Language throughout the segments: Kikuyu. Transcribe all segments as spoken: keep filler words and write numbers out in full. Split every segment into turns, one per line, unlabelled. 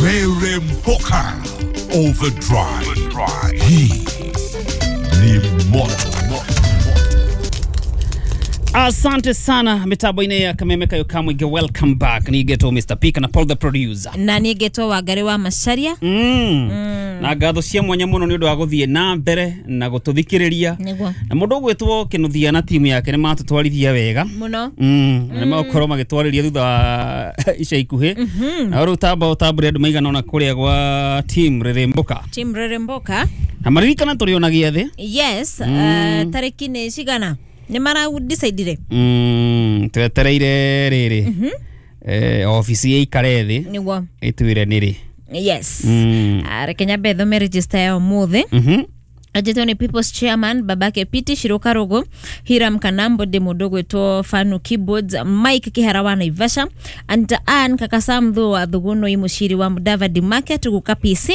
Rere Mpoka Overdrive. Hii ni moto.
Asante sana mitambo-inĩ ya Kameme Kayo Kamwige, welcome back. Nigetwo Mister Pika na Paul the producer.
Na nigetwo Wangari wa Macharia.
mm. Na ngatho cia mwanya mũno nĩ ũndũ wa gũthiĩ na mbere na gũtũthikĩrĩria.
Nĩguo.
Na mũndũ ũgwĩtwo Kĩnuthia na timu yake nĩ matũtwarithia wega
mũno.
Mm. Na nĩ magũkorwo magĩtwarĩria thutha wa ica ikuhĩ. Na rĩu tamba ũtambũre andũ maigana ũna kũrĩa gwa team Rĩrĩmbũka.
Team Rĩrĩmbũka.
Na maririkana tũrĩ ona gĩathĩ.
Yes. mm. uh, tarĩki nĩ cigana nĩ maradecidire?
Mm, twetereire rĩrĩ. mm -hmm. Eh, ofici ĩikare thĩ
nĩguo
ĩtwĩre nĩrĩ.
Yes.
Mm.
Reke nyambe thome register ya ũmũthĩ.
Mhm.
Ajetwo ni People's Chairman babake Piti Shiruka Rugu, Hiram Kanambo de mũndũ gwĩtwo Fanu Keyboards, Mike Kihara wa Naivasha, Anta Ann Kakasamthu wa Thugunoi Mushiri wa Mudavadi Market guka P C,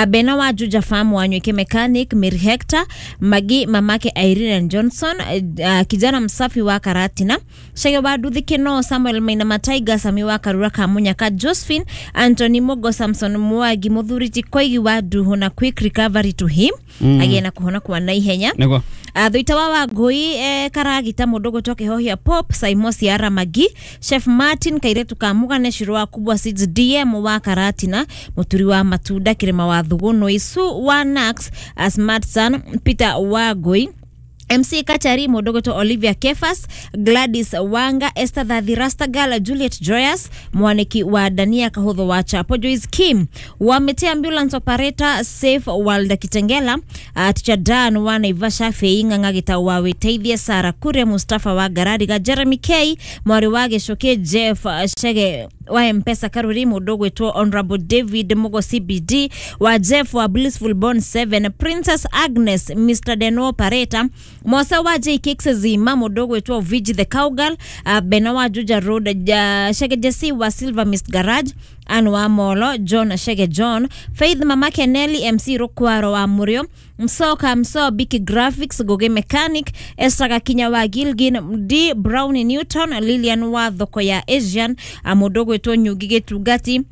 Bena wa Juja Farm wa Nyweke Mechanic, Mary Hector, Magi mamake Irene and Johnson, uh, kijana msafi wa Karatina, Shege wa Duthi Keno, Samuel Maina Mataiga, Sami wa Karura Kamunyaka, Josephine, Anthony Mogo, Samson Mwagi, Muthuriti Koigi wa Duhu na quick recovery to him. Mm. Agĩe na kũhona kwa naihenya.
Nĩguo.
Uh, Thuita wa Wangũi eh, Karagita mũndũ gwĩtwo Kĩhohia Pop, Saimo Ciara Magi, Chef Martin Kairetu ka Mugane, Shiro wa Kubwa Seeds, D M wa Karatina, Muturi wa Matunda, Kirima wa Thuguno, Isu wa Nax, Smart Son, Peter Wangũi, M C Kachari, mũndũ gwĩtwo Olivia Kefas, Gladys Wanga, Esther Thathi Rastagal, Juliet Joyous, mwaniki wa Dania Kahutho wa Chapo, Joyce Kim wa Mete Ambulance Operator, Safe World Kitengela, uh, Teacher Dan wa Naivasha, Fei Ng'ang'a wa Witeithie, Sara Kuria, Mustafa wa Garariga, Jeremy K, Mwari wa Gĩcũkĩ, Jeff Shege wa Mpesa Karuri, mũndũ gwĩtwo Honorable David Mugo C B D wa Jeff wa Blissful Born seven, Princess Agnes, Mister Deno Operator, Mosa wa J Kicks Zima, mũndũ gwĩtwo Vigi the Cowgirl, uh, Bena wa Juja Road, uh, Shege Jesse wa Silver Mist Garage, Ann wa Molo, John Shege John, Faith Mamake Nelly, M C Rukwaro wa Murio, Msoka Mso Biki Graphics, Goge Mechanic, Esther Gakinya wa Gilgin, D Brown Newton, Lilian wa Thoko ya Asian, mũndũ gwĩtwo Nyugi Gĩtungati,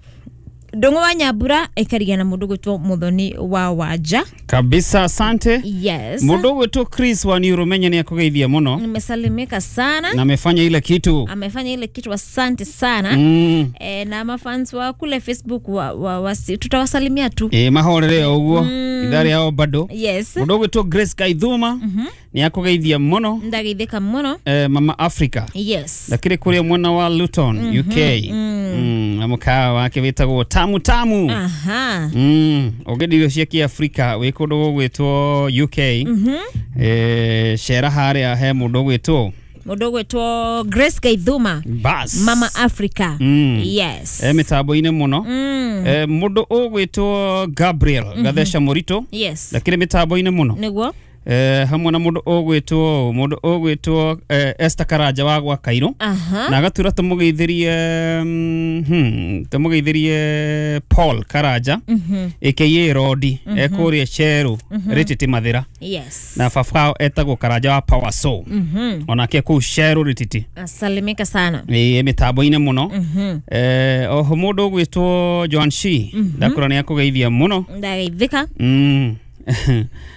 Ndung'u wa Nyambura, ĩkarigia na mũndũ gwĩtwo Muthoni wa Wanja.
Kabisa, asante.
Yes.
Mũndũ gwĩtwo Chris wa Niurumenya ni akugeithia mũno.
Nimesalimika sana.
Na amefanya ile kitu.
Amefanya ile kitu, asante sana.
Mm.
E, na mafans wa kule Facebook wa, wa, wa, tutawasalimia tu.
E, mahorere ũguo.
Mm.
Idara yao bado.
Yes.
Mũndũ gwĩtwo Grace Kaithuma.
Mm -hmm.
Ni akugeithia mũno.
Ndageithĩka mũno.
E, Mama Africa.
Yes.
Lakini kule mwana wa Luton,
mm -hmm.
U K.
Mm.
Mm. Na mũkawa wake wĩtagwo Tamu Tamu.
Aha.
Mm. Ũngĩenda irio cia Kĩafrika wĩ kũndũ gũgwĩtwo U K.
Mm -hmm.
Eh, cera harĩa he mũndũ ũgwĩtwo
mũndũ ũgwĩtwo Grace Kaithuma.
Bas.
Mama Africa.
Mm.
Yes.
E mĩtambo-inĩ mũno.
Mm.
E, mũndũ ũgwĩtwo Gabriel mm -hmm. Gatheca Mũritũ.
Yes.
Lakini mĩtambo-inĩ mũno.
Nĩguo.
Eh, hamwe na mũndũ ũgwĩtwo mũndũ ũgwĩtwo eh, Esther Karanja wa gwa Kairũ.
Aha.
Na agatura tũmũgeithĩrie mm, hmm, tũmũgeithĩrie Paul Karanja.
Mm -hmm.
A K A Rodi.
Mm -hmm.
Ekũrĩa Cheru.
Mm -hmm.
Rĩtĩtĩ Mathĩra.
Yes.
Na baba etagwo Karanja wa Power Soul.
Mm -hmm.
Onake kũu Cheru Rĩtĩtĩ.
Asalimika sana.
Ĩ mĩtambo-inĩ mũno.
Mm -hmm.
Eh, oho mũndũ ũgwĩtwo Joan Shi.
Mm -hmm.
Ndakũra nĩ akũgeithia mũno.
Ndageithĩka.
Mm.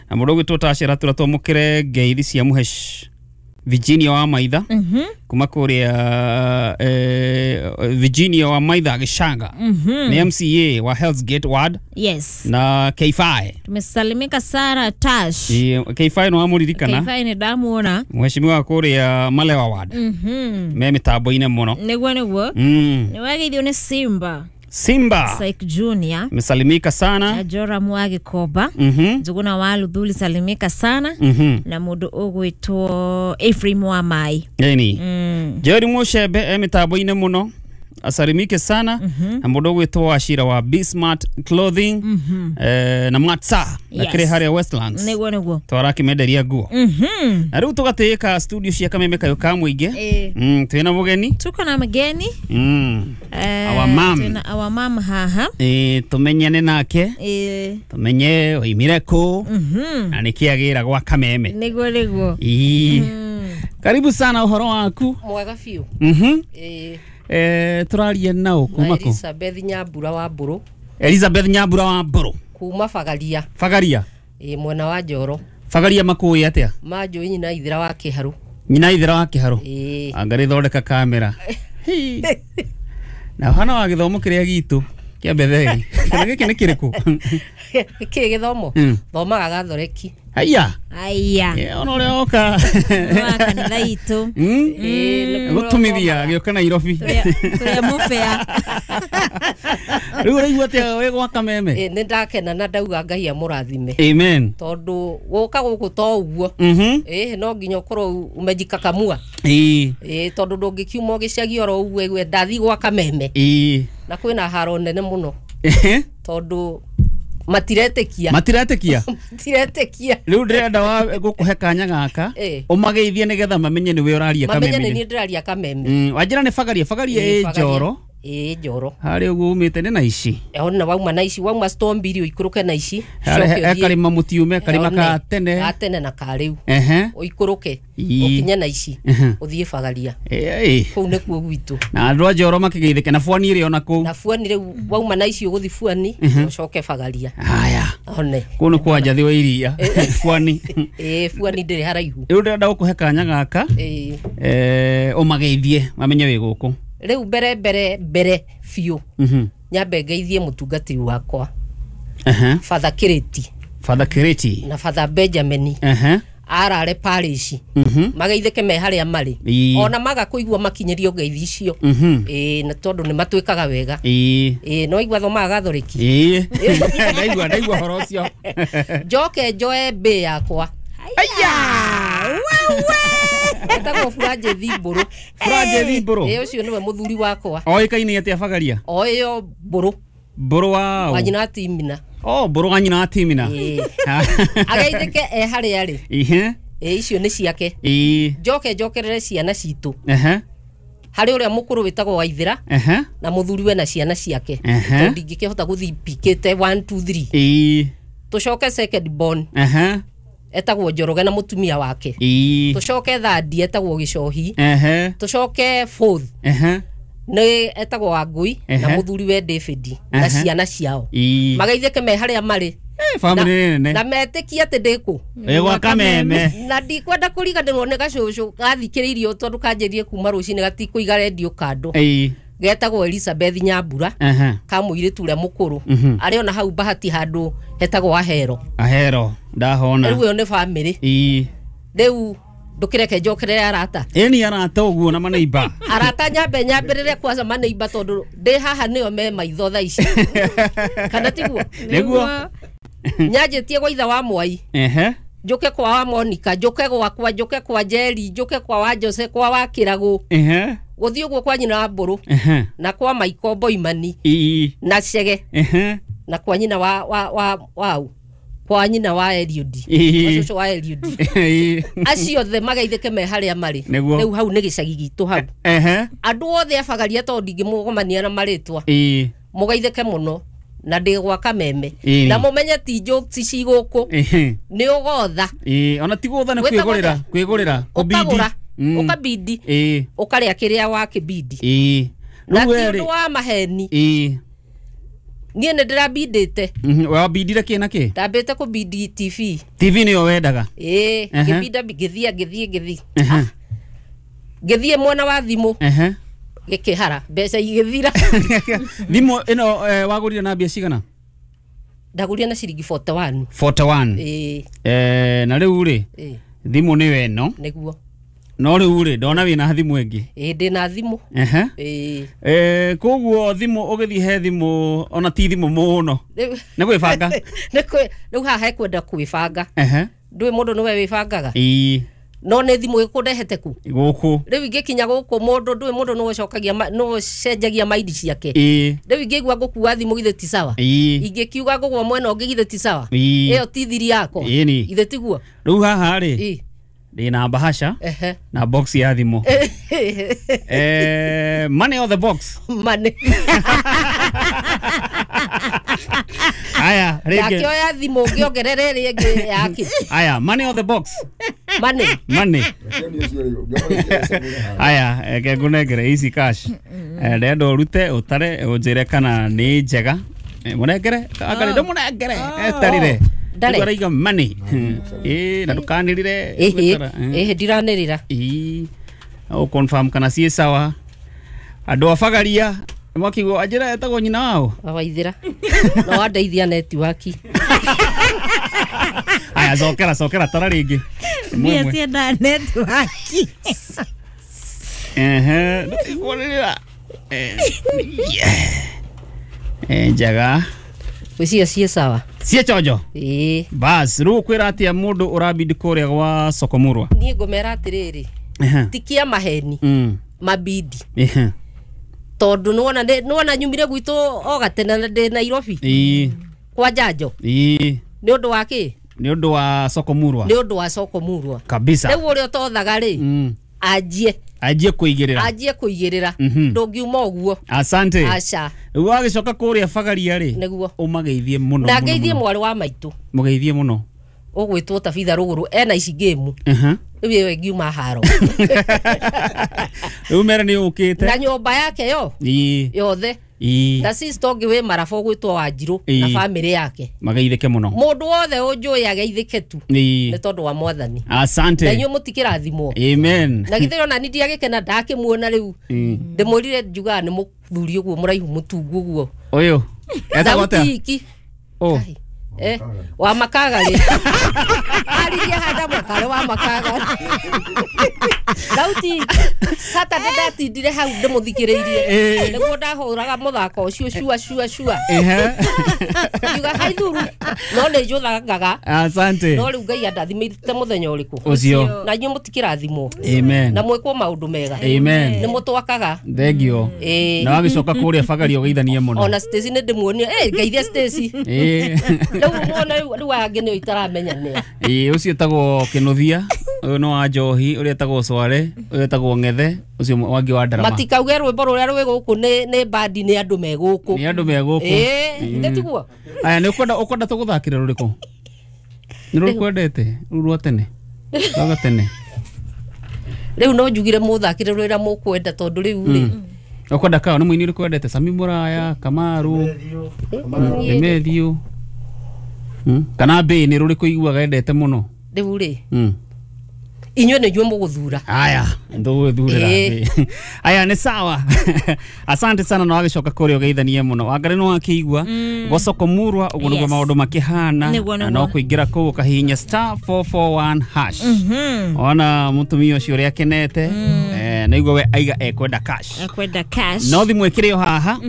Na mũndũ ũgwĩtwo Tashera tura twamũkĩre ngeithi cia Mũhesh Virginia wa Maitha.
Mm -hmm.
Kuma kũrĩa eh, Virginia wa Maitha Gĩcanga.
Mm -hmm.
Nĩ M C A wa Hell's Gate Ward.
Yes.
Na K five.
Tumesalimika sana Tash.
E, K five no amũririkana.
K five nĩ ndamuona.
Mheshimiwa kũrĩa Malewa Ward.
Mm -hmm.
Me mĩtambo-inĩ mũno.
Nĩguo nĩguo.
Mm.
Nĩ wageithio nĩ Simba.
Simba
Syke Junior
mesalimika sana.
Na Jora Mwagi Koba.
Mm -hmm.
Njuguna wa Luthuli salimika sana.
Mm -hmm.
Na mũndũ ũgwĩtwo Ephraim wa Mai.
Eni.
Mm.
Jerry Mushebe e mĩtambo-inĩ mũno. Asalimike sana.
Mm -hmm.
Na mũndũ ũgwĩtwo Ashira wa Be Smart Clothing.
Mm -hmm.
Eh, na Matsa.
Yes.
Na kĩrĩ harĩa Westlands.
Nĩguo nĩguo.
Twarakĩmenderia nguo.
Mm -hmm.
Na rĩu tũgatĩĩka studio cia Kameme Kayo ka Mũingĩ.
Eh.
Mm, twĩna mũgeni.
Tuko na mgeni.
Mm.
Eh,
Our mom.
Twĩna our mom haha.
Eh, tumenyane nake.
Eh.
Tumenye oimire kũ.
Mm -hmm.
Na nĩkĩ agĩra gwa Kameme.
Nĩguo nĩguo.
Ii.
Mm.
Karibu sana ũhoro waku.
Mwega biũ.
Mhm.
Eh.
Eh, tũraria nao kuma kũ?
Elizabeth Nyambura wa Mbũrũ.
Elizabeth Nyambura wa Mburu
kuma Bagaria.
Bagaria
ĩ mwena wa Njoro.
Bagaria makũĩ atĩa?
Manjũĩ nyina ithira wa Kĩharũ.
Nyina ithira wa Kĩharũ.
Ĩ
anga thondeka kamera. Na hana wa gĩthomo kĩrĩa gitũ kĩa Betheli. Kana gĩkĩ nĩ kĩrĩkũ?
Kĩ gĩthomo? Thomaga Gathoreki.
Haiya.
Haiya.
Ona ũrĩa oka.
Wa kanitha itũ.
Gũtumithia gĩũka Nairobi.
Tũrĩa mũbea.
Rĩu ũraigua atĩa wĩ gwa Kameme?
Ĩ nĩ ndakena na ndauga Ngai amũrathime.
Amen.
Tondũ gũka gũkũ to ũguo. Ĩ no nginya ũkorwo umejikakamua.
Ĩ.
Ĩ tondũ ndũngĩkiuma gĩcagi oro ũguo ĩgue ndathi gwa Kameme.
Ĩ.
Na kwĩna haro nene mũno. Tondũ matiretekia.
Matiretekia?
Matiretekia.
Rĩu ndĩrenda wa gũkũhe kanya gaka ũmageithie nĩgetha mamenye nĩwe ũraria Kameme.
Mamenye nĩ niĩ ndĩraria Kameme.
Wanjĩra nĩ Bagaria. Bagaria ĩ Njoro.
Ĩ Njoro.
Harĩa ũguo umĩte nĩ Naici.
Ona wauma Naici, wauma Storm Mbiri ũikũrũke Naici.
Karĩma mũtiume, karĩma ka tene.
Ka tene na ka rĩu. Ũikũrũke ũkinye Naici ũthiĩ Bagaria. Kũu nĩkuo gwitũ.
Na andũ a Njoro makĩgeithĩke na Bwani ĩrĩ ona kũu.
Na Bwani rĩu wauma Naici ũgũthiĩ Bwani ũcoke Bagaria.
Haya.
One.
Kũu nĩ kwa Njathi wa Iria. Bwani.
Ĩ Bwani ndĩrĩ haraihu.
Rĩu ndĩrenda gũkũhe kanya gaka. Ĩ ũmageithie mamenye wĩ gũkũ.
Rĩu mbere mbere mbere biũ nyambe ngeithie mũtungatĩri wakwa Father Kireti.
Father Kireti
na Father Benjamin arare parish mageithĩke me harĩa marĩ ona maga kũigua makinyĩrio ngeithi icio ĩ na tondũ nĩ matwĩkaga wega ĩ no igua thomaga Gathoreki.
Ĩ ndaigua ndaigua horo ũcio.
Njoke njoe mbĩ yakwa.
Aya
wewe
etagwo Franjethi Mburu.
Franjethi Mburu
ĩ ũcio nĩwe mũthuri wakwa.
Oĩkaine atĩa Bagaria?
Oĩyo Mburu.
Mburu wa
wa nyina Timina.
Oh, Mburu wa nyina Timina.
Ageithĩke e harĩa arĩ.
Ihe.
Ĩ icio nĩ ciake.
Ĩ
njoke njokerere ciana citũ.
Ehe.
Harĩ ũrĩa mũkũrũ wĩtagwo Waithĩra
Ehe.
na mũthuriwe na ciana ciake tondũ ndingĩkĩhota gũthiĩ pikĩte one two three.
Ĩ
tũcoke second born.
Ehe.
Etagwo Njoroge na mũtumia wake.
Ĩ
tũcoke third etagwo Gĩcohi.
Ehe.
Tũcoke fourth.
Ehe.
Nĩ etagwo Wangui na mũthuriwe David na ciana ciao. Mageithĩke me harĩa marĩ.
Family nene.
Na metĩkie atĩ ndĩ kũ?
Wĩ gwa Kameme.
Na ndikwenda kũriganĩrwo nĩ gacũcũ gathikĩrĩirio tondũ kanjĩrie kuma rũcinĩ gatikũiga rendio kando.
Ĩ
getagwo Elizabeth Nyambura ka mũirĩtu ũrĩa mũkũrũ arĩ ona hau Bahati handũ hetagwo Ahero.
Ahero ndahona.
Rĩu ĩyo nĩ family.
Ĩ
rĩu ndũkĩreke njokerere arata.
Ĩni arata ũguo na maneiba.
Arata nyambe nyambĩrĩre kwanza maneiba tondũ ndĩ haha nĩo me maitho thaa ici. Kana tiguo?
Nĩguo.
Nyanjĩtie gwa ithe wa Mwai.
Ehe.
Njoke kwa wa Monica, njoke gwakwa, njoke kwa Jerry, njoke kwa wa Jose, kwa wa Kĩragũ.
Ehe.
Gũthiĩ ũguo kwa nyina wa Mbũrũ.
Ehe.
Na kwa Maiko Boimani.
Ĩ.
Na Cege.
Ehe.
Na kwa nyina wa wa wa wau. Kwa nyina wa Eliud.
Kwa
cũcũ wa Eliud. Acio othe mageithĩke me harĩa marĩ. Rĩu hau nĩ gĩcagi gitũ hau.
Ehe.
Andũ othe a Bagaria tondũ ndingĩmũgomania na marĩtwa.
Ĩ.
Mũgeithĩke mũno. Na ndĩ gwa Kameme. Na mũmenye ti jokes ci gũkũ. Nĩ ũgotha.
Ĩ ona ti gũtha nĩ kwĩgũrĩra, kwĩgũrĩra, kũbindi.
Ũkabindi.
Ĩ.
Ũkarĩa kĩrĩa wakĩbindi.
Ĩ.
Na ti ũndũ wa maheni.
Ĩ.
Niĩ nĩ ndĩrabindĩte.
Wabindire kĩ na kĩ?
Ndambĩte kũbindi T V.
T V nĩyo wendaga?
Ĩ, ngĩbinda ngĩthiĩ ngĩthiĩ ngĩthiĩ. Ngĩthiĩ mwena wa thimũ.
Ehe.
Gĩkĩhara mbeca igĩthira.
Thimũ ĩno wagũrire na mbia cigana?
Ndagũrire na ciringi forty one.
forty one.
Ĩ.
Eh, na rĩu rĩ thimũ nĩyo ĩno.
Nĩguo.
No rĩu rĩ ndona wĩna thimũ ĩngĩ.
Ĩ ndĩna thimũ.
Ehe.
Ĩ.
Eh, koguo thimũ ũgĩthiĩ he thimũ ona ti thimũ mũno. Nĩ gwĩbanga.
Nĩ kwĩ rĩu haha hekwenda kwĩbanga.
Ehe.
Ndũĩ mũndũ nĩwe wĩbangaga.
Ĩ.
No nĩ thimũ ĩkũndehete ku?
Gũkũ.
Rĩu ingĩkinya gũkũ mũndũ ndũĩ mũndũ nĩwe ũcokagia nĩwe ũcenjagia maindi ciake.
Ĩ.
Rĩu ingĩigua ngũkua thimũ githĩ ti sawa?
Ĩ.
Ingĩkiuga ngũgwa mwena ũngĩ githĩ ti sawa?
Ĩ.
Ĩyo ti thiri yakwa.
Ĩni.
Githĩ tiguo?
Rĩu haha rĩ.
Ĩ.
Ndĩna bahasha
Ehe.
na box ya thimũ. Eh, money or the box?
Money.
Aya, rĩngĩ.
Ndakĩoya thimũ ngĩongerere ĩrĩa ĩngĩ yake.
Aya, money or the box?
Money.
Money. Aya, reke ngũnengere ici cash. Ndĩrenda ũrute ũtare ũnjĩre kana nĩ njega. Munengere akari ndo munengere etarire
Ndare.
Araiga money eh na ndukanirire
Ĩhĩ ĩhĩ ndiranĩrĩra.
Ĩĩ o confirm kana ciĩ sawa andũ a Bagaria mwakigwo anjĩra etagwo nyina wao
Waithĩra no wandeithia network.
Aya cokera cokera tara rĩngĩ.
Mbia cienda network.
Ehe ndũtikwanĩrĩra. Eh njega
gwĩciria ciĩ sawa
ciĩ chonjo.
Ĩĩ
bas rĩu ũkwĩra atĩa mũndũ ũrabidi kũrĩa gwa Sokomurwa?
Niĩ ngũmera atĩrĩrĩ ti kĩa maheni mabidi tondũ nĩwona nĩwona nyumire gwitũ o gatene na ndĩ Nairobi.
Ĩĩ
kwa njanjo.
Ĩĩ
nĩ ũndũ wa kĩ?
Nĩ ũndũ wa Sokomurwa.
Nĩ ũndũ wa Sokomurwa
kabisa.
Rĩu ũrĩa ũtothaga rĩ anjie
anjie kũigĩrĩra
anjie kũigĩrĩra ndũngiuma ũguo.
Asante.
Aca
rĩu wagĩcoka kũrĩa Bagaria rĩ
nĩguo
ũmageithie mũno
na ngeithie mwarĩ wa maitũ
mũgeithie mũno
ũgwĩtwo Tabitha Rũgũrũ ena ici ngĩmu rĩu ĩyo ĩngiuma haro
rĩu mere nĩ ũkĩte
na nyũmba yake yo yothe na sister ũngĩ wĩ Maraba ũgwĩtwo Wanjirũ na bamĩrĩ yake
mageithĩke mũno
mũndũ wothe ũnjũĩ ageithĩke tu nĩ tondũ wa Mwathani.
Asante.
Na inyuĩ mũtikĩrathimwo.
Amen.
Na githĩ ona niĩ ndiagĩkena ndakĩmuona rĩu ndĩmwĩrire njugaga nĩ mũthuri ũguo mũraihu mũtungu ũguo
ũyũ etagwo atĩa? Oh
eh wa makaga rĩ aririe handa makare wa makaga Dauti Saturday ndatindire hau ndĩmũthikĩrĩirie nĩguo ndahũraga mũthako ũcio cua cua cua ngiuga haithuru no nĩ njũthangaga.
Asante.
No rĩu Ngai andathimĩte mũthenya ũrĩkũ
ũcio
na inyuĩ mũtikĩrathimwo.
Amen.
Na mwĩkwo maũndũ mega.
Amen.
Nĩ mũtwakaga.
Thengio. Na wagĩcoka kũrĩa Bagaria ũgeithanie mũno
ona Stacy nĩ ndĩmuonie eh ngeithia Stacy
eh
rĩu muona rĩu angĩ nĩo itaramenya nĩa.
Ĩĩ ũcio etagwo Kĩnũthia ũyũ nĩ wa njohi ũrĩa etagwo Sware ũyũ etagwo Ng'ethe ũcio wangĩ wa ndarama
matikauge rwĩmbo rũrĩa rwĩ gũkũ nĩ nĩ bandi nĩ andũ me gũkũ
nĩ andũ me gũkũ
ĩĩ githĩ tiguo.
Aya nĩ ũkwenda ũkwenda tũgũthakĩre rũrĩkũ? Nĩ rũrĩkũ wendete rũu rwa tene rwa gatene?
Rĩu no njugire mũthakĩre rũrĩa mũkwenda tondũ rĩu rĩ
ũkwenda kaũ nĩ mũini ũrĩkũ wendete? Sami Mũraya, Kamaru, Demethiũ kana mbĩ nĩ rũrĩkũ iguaga endete mũno
rĩu rĩ? Inyuĩ nĩ inyuĩ mũgũthura.
Aya ndũgũthurĩra. Aya nĩ sawa. Asante sana na wagĩcoka kũrĩa ũgeithanie mũno Wangari nĩ wakĩigua gwa Sokomurwa ũguo nĩguo maũndũ makĩhana na no kũingĩra kũu ũkahihinya star four four one hash ona mũtumia ũcio ũrĩa akenete nĩguo we aiga ekwenda cash
ekwenda cash
no thimũ ĩkĩrĩ o haha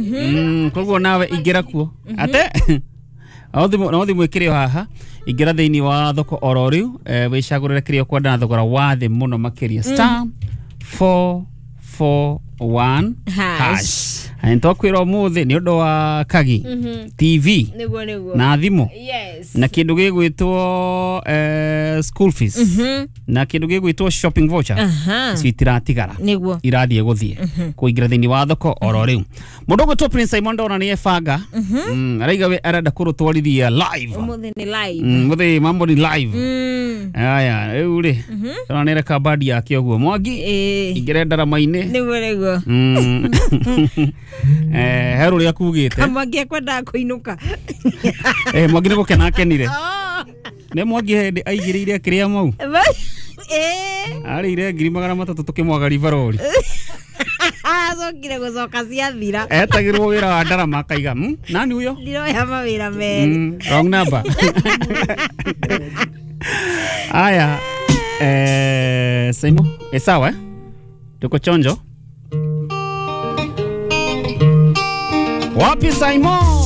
koguo nawe ingĩra kuo ate no thimũ ĩkĩrĩ o haha ingĩra thĩinĩ wa thoko oro rĩu wĩcagũrĩre kĩrĩa ũkwenda na thogora wa thĩ mũno makĩria star four four one hash. Nĩtwakwĩra ũmũthĩ nĩ ũndũ wa Kagi T V
nĩguo nĩguo
na thimũ
yes
na kĩndũ gĩgwĩtwo school fees na kĩndũ gĩgwĩtwo shopping voucher icio itiratigara
nĩguo
irathiĩ gũthiĩ kũingĩra thĩinĩ wa thoko oro rĩu mũndũ ũgwĩtwo Prince Simon ndona nĩ ebanga araiga we arenda kũrũtwarithia live
ũmũthĩ nĩ live
mũthĩ mambo ni live aya rĩu rĩ ndona nĩ reka bandi yake ũguo Mwangi ingĩre ndarama-inĩ
nĩguo nĩguo
eh he rũrĩa kugĩte
Mwangi ekwendaga kũinũka
eh Mwangi nĩ gũkena akenire nĩ Mwangi hĩndĩ aigĩrĩire akĩrĩa mau
eh
arĩire ngiri magana matatũ tũkĩmwaga ribarori
acokire gũcoka ciathira
etagĩrwo wĩra wa ndarama akaiga nani huyo
ndiroya mawĩra merĩ
wrong number. Aya eh Simo eh sawa eh tuko chonjo. Wapi Simon?